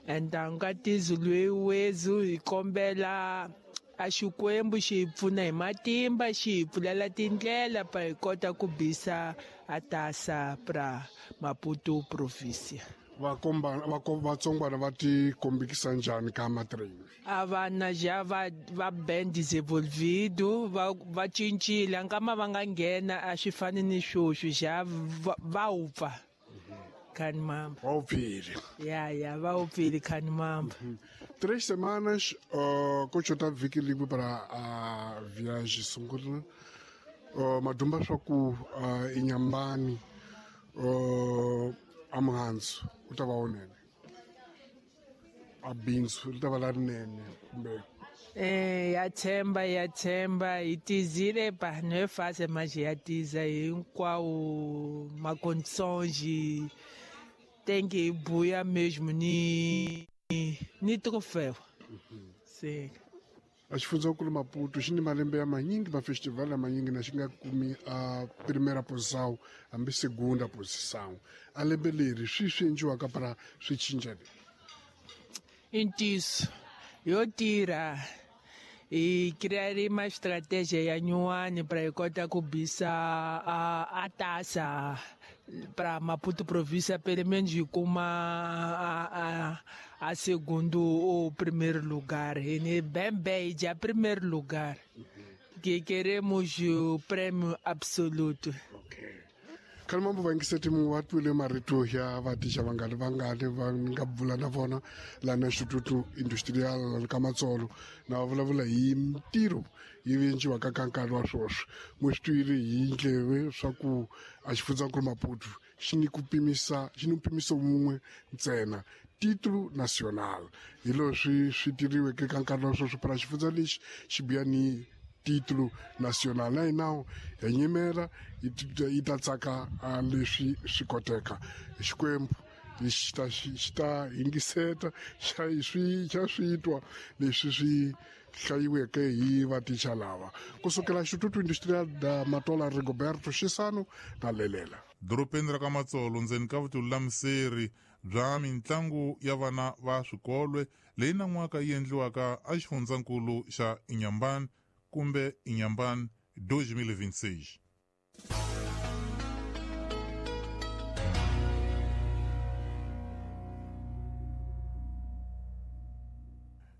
Então ka tizu lwewezu hi kombela a Xikwembu xi hi pfuna hi matimba, xi hi pfulela tindlela pa hi kota ku bisa a tasa pra Maputo província. Vatsongwana va ti kombekisa njhani ka matrain? A vana já va bem desenvolvido, va cincile, nkama va nga nghena a swi fani ni sweswi, já va wupfa. Khani mamba. Va wupfile. Ya, va wupfile khani mamba. 3 semanas, ko xota vhiki rin'we para a viagem sungula. Madumba swa ku Inhambane, a muhandzu wu ta va wunene, a bindzu ri ta va larinene kumbe? Ya tshemba hi tizile pa no é fácil, mas ya tiza hinkwawo ma condições tem que buia mesmo ni troféu. Sim. A xifundzankulu Maputo xi ni malembe ya manyingi, mafestival ya manyingi na xi nga kumi a primeira posição hambi segunda posição. A lembe leri swi endliwaka para swi cinca le? I ntiyiso yo tirha hi criar uma estratégia ya nyuwani para hi kota ku bisa a taça para Maputo província, pelo menos hi kuma a segundo ou primeiro lugar. E ni bem bem já primeiro lugar. Que queremos o prêmio absoluto. Okay. Khani mambo va yingiseti mu va twile marito ya vaticha vangani vangani va nga bula na vona lana Instituto Industrial lana ka Matsolo, na va vulavula hi mintirho yi endliwaka ka nkarhi wa sweswi. Mu swi twile hi ndleve swa ku a xifundzankulu Maputo xi ni ku pimisa, xi ni mpimiso wun'we ntsena, título nacional. Hi leswi swi tiriweke ka nkarhi wa sweswi para xifundza lexi xi biya ni título nacional. Na hina hi nyimela yi ta tsaka leswi swi koteka. Xikwembu xi ta yingiseta, xa swi twa leswi swi hlayiweke hi vaticha lava. Kusukela Instituto Industrial da Matola, Rigoberto Xisano na Lelela. Dorobeni ra ka Matsolo ndzeni ka vutiulamiseri bya mintlangu ya vana va swikolwe leyi nan'waka yi endliwaka a xifundzankulu xa Inhambane kumbe Inhambane 2026.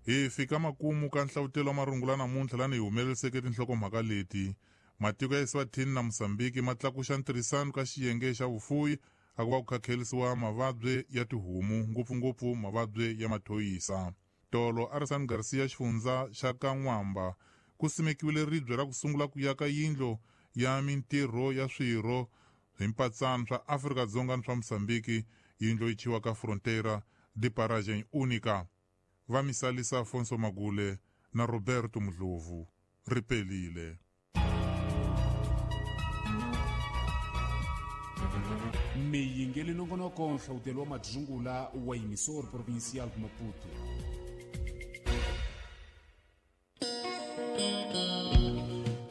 Hi fika makumu ka nhlavutelo wa marungula namuntlha lani hi humeleriseke tinhlokomhaka leti. Matiko ya Eswatini na Mozambique ma tlakuxa ntirhisano ka xiyenge xa vufuwi a ku va ku khakhelisiwa mavabyi ya tihomu, ngopfungopfu mavabyi ya mathoyisa. Tolo Arsene Garcia xifundza xa ka N'wamba ku simekiwile ribye ra ku sungula ku yaka yindlu ya mintirho ya swirho hi mpatsano swa Afrika-Dzonga ni swa Mozambique, yindlu yi thyiwaka Fronteira de Paragem Única. Va misalisa Afonso Magule na Roberto Mudlovu. Ripelile. Miyingeli nongonoko nhlawutelo wa madzungula wa emissor provincial Maputo.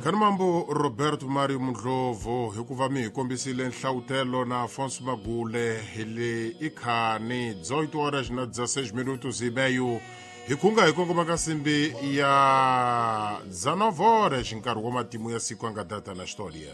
Khani mambo Roberto Mario Mudlovu hikuva mi hi kombisile nhlawutelo na Afonso Magule hi le ikhani 18 horas na 16 minutos e meio. Hi khunga hi kongoma ka simbi ya 19 horas nkarhi wa matimu ya siku a nga data na xitoria.